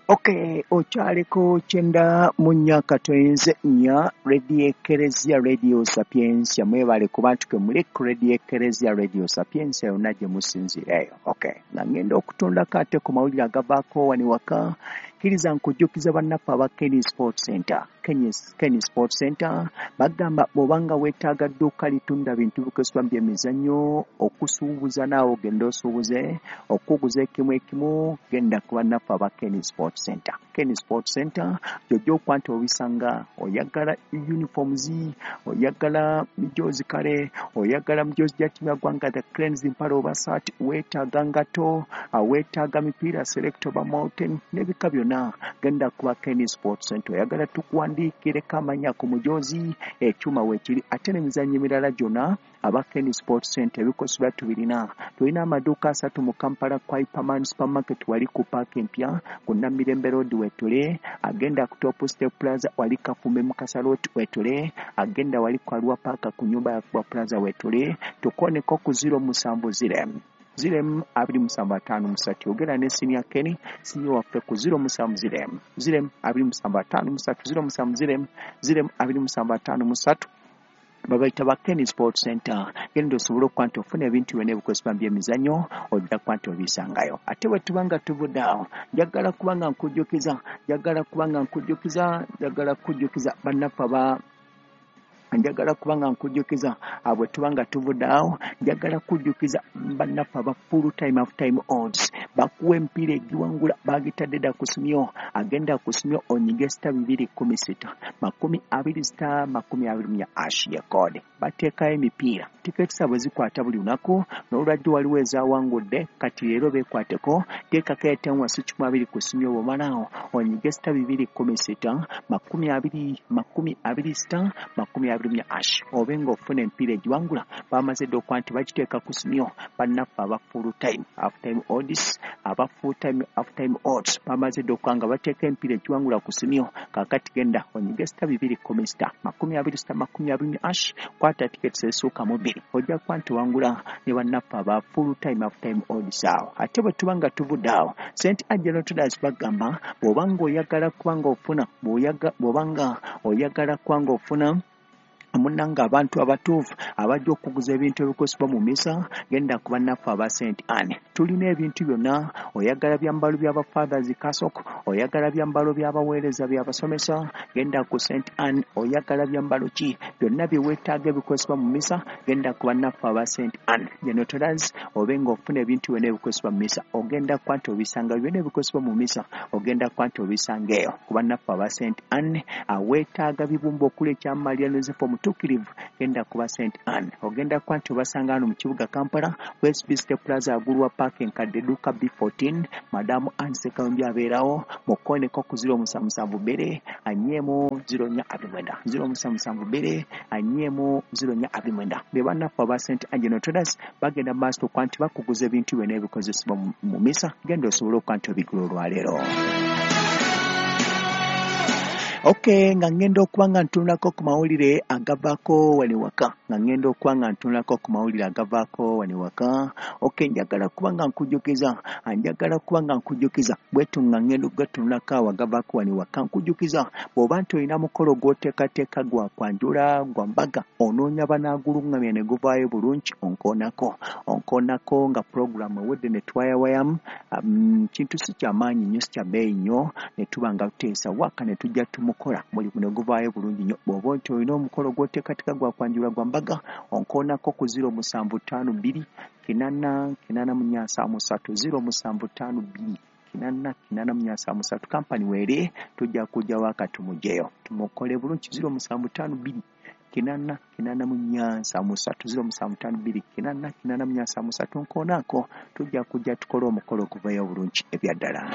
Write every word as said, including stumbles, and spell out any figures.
Okay, okyaliko kyenda mu nnya katoyinze nnya Radio Ekereziya, Radio Sapiensia. Mwebale ku bantu ke muli ku Radio Ekereziya, Radio Sapiensia yonna gye musinziira eyo. Okay, nga ngenda okutundako ate ku mawulire agavaako wano waka, kkiriza nkujjukiza bannaffe aba Kenny Sport Center. Kenny, Kenny Sport Center bagamba bw'obanga weetaaga dduuka litunda bintu bikozesebwa mu byemizannyo, okusuubuza naawe ogenda osuubuze, okuguza ekimu ekimu, genda ku bannaffe aba Kenny Sport Center. Kenny Sport Center gy'ojja okuba nti obisanga. Oyagala uniforms, oyagala mijoozi, kale oyagala mijoozi gya ttiimu ya ggwanga the Cranes, mpale oba saati, weetaaga ngato, weetaaga mipiira select oba mountain n'ebika byonna, genda kuba Kenny Sport Center. Oyagala tukuwandiikireko amannya ku mujoozi, ekyuma weekiri, ate n'emizannyo emirala gyonna, aba Kenny Sport Center ebikozesebwa tubirina. Tulina amaduuka asatu mu Kampala: ku Hyperman Supermarket wali ku paaka empya ku Namirembe Road wetule, agenda ku Top Step Plaza wali Kafumbe Mukasa Road wetule, agenda wali ku Arua Paaka ku nyumba ya Kuba Plaza wetule. Tukoneko ku zero musanvu zero zero abiri musanvu ataano musatu. Yogera ne Senior Kenny, senior waffe, ku zero musanvu zero zero abiri musanvu ataano musatu, zero musanvu zero zero abiri musanvu ataano musatu. Babayita ba Kenny Sport Center. Genda osobole okuba nti ofuna ebintu byonna ebikozesebwa mu byemizannyo, ojja kuba nti obisangayo. Ate bwe tuba nga tuvudde awo, njagala kuba nga nkujjukiza njagala kuba nga nkujjukiza njagala kujjukiza bannaffe aba njagala kuba nga nkujjukiza, bwe tuba nga tuvudde awo, njagala kujjukiza bannaffe aba Full Time Half Time Odds. Bakuwa emipiira egiwangula, bagitadde dda ku Simyo. Agenda ku Simyo onyige star bibiri kumi sita makumi abiri star makumi abiri mu hash ye code. Bateekayo emipiira, tiketi zaabwe zikwata buli lunaku, n'olwajjo waliwo ezawangudde. Kati leero beekwateko, teekako etemu wasi kikumi abiri ku Simyo. Bw'omalaawo onyige star bibiri kumi sita makumi abiri makumi abiri star makumi abiri mu hash, obe ng'ofuna emipiira egiwangula. Bamaze dda okuba nti bagiteeka ku Simyo. Bannaffe aba Full Time Half Time Odds, aba Full Time Half Time Odds bamaze dda okuba nga bateeka emipiira egiwangula ku Simyo. Kaakati genda onyige star bibiri kumi sita makumi abiri star makumi abiri mu hash, kwata tiketi ezisukka mu bbiri, ojja kuba nti wangula ne bannaffe aba Full Time Half Time Odds awo. Ate bwe tuba nga tuvudde awo, Saint Angelo Traders bagamba bw'oba ng'oyagala kuba ng'ofuna bw'oba nga oyagala kuba ng'ofuna munnange abantu abatuufu abajja okuguza ebintu ebikozesebwa mu misa, genda ku bannaffe aba Saint Anne. Tulina ebintu byonna. Oyagala byambalo by'abafathers, cassock, oyagala byambalo by'abaweereza, by'abasomesa, genda ku Saint Anne. Oyagala byambalo ki, byonna bye weetaaga ebikozesebwa mu misa, genda ku bannaffe aba Saint Anne General obe ng'ofuna ebintu byonna ebikozesebwa mu misa. Ogenda kuba nti obisanga byonna ebikozesebwa mu misa, ogenda kuba nti obisanga eyo ku bannaffe aba Saint Anne. Aweetaaga bibumba okuli ekya Maria Yosefu omutuukirivu, genda kuba Saint Anne. Ogenda kuba nti obasanga wano mu kibuga Kampala, West Bist Plaza, waggulu wa paaka enkadde, edduuka B fourteen. Madamu Anne Sekawumbi abeerawo. Mukoneko ku zero musanvu musanvu bbiri anyeemu zero nnya abiri mwenda, zero musanvu musanvu bbiri anyeemu zero nnya abiri mwenda. Be bannaffe aba Saint Angelo Traders, bagenda mu maaso okuba nti bakuguza ebintu byonna ebikozesebwa mu misa. Genda osobole okuba nti obigula olwaleero. Okay, nga ngenda okuba nga ntunulako ku mawulire agavaako wano waka nga ngenda okuba nga ntunulako ku mawulire agavaako wano waka. Okay, njagala kuba nga nkujjukiza njagala kuba nga nkujjukiza bwetu nga ngenda okugatunulako awo agavaako wano waka. Nkujjukiza bw'oba nti olina mukolo gw'oteekateeka, gwa kwanjula, gwa mbaga, onoonya banaaguluŋŋamya ne guvaayo bulungi, onkoonako onkoonako nga puroguramu ewedde ne twayawayamu. um, kintu si kyamaanyi nnyo, si kya bbeeyi nnyo, ne tuba nga tuteesa waka ne tujja tumukola mulimu ne guvaayo bulungi nnyo. Bw'oba nti olina omukolo gw'oteekateeka, gwa kwanjula, gwa mbaga, onkoonako ku zero musanvu ttaano bbiri kinaana kinaana mu nnya nsanvu musatu, zero musanvu ttaano bbiri kinaana kinaana mu nnya nsanvu musatu. Kampani weere, tujja kujja waka tumuggyeyo tumukole bulungi. zero musanvu ttaano bbiri kinaana kinaana mu nnya nsanvu musatu, zero musanvu ttaano bbiri kinaana kinaana mu nnya nsanvu musatu. Nkoonaako, tujja kujja tukole omukolo okuvayo bulungi ebyaddala.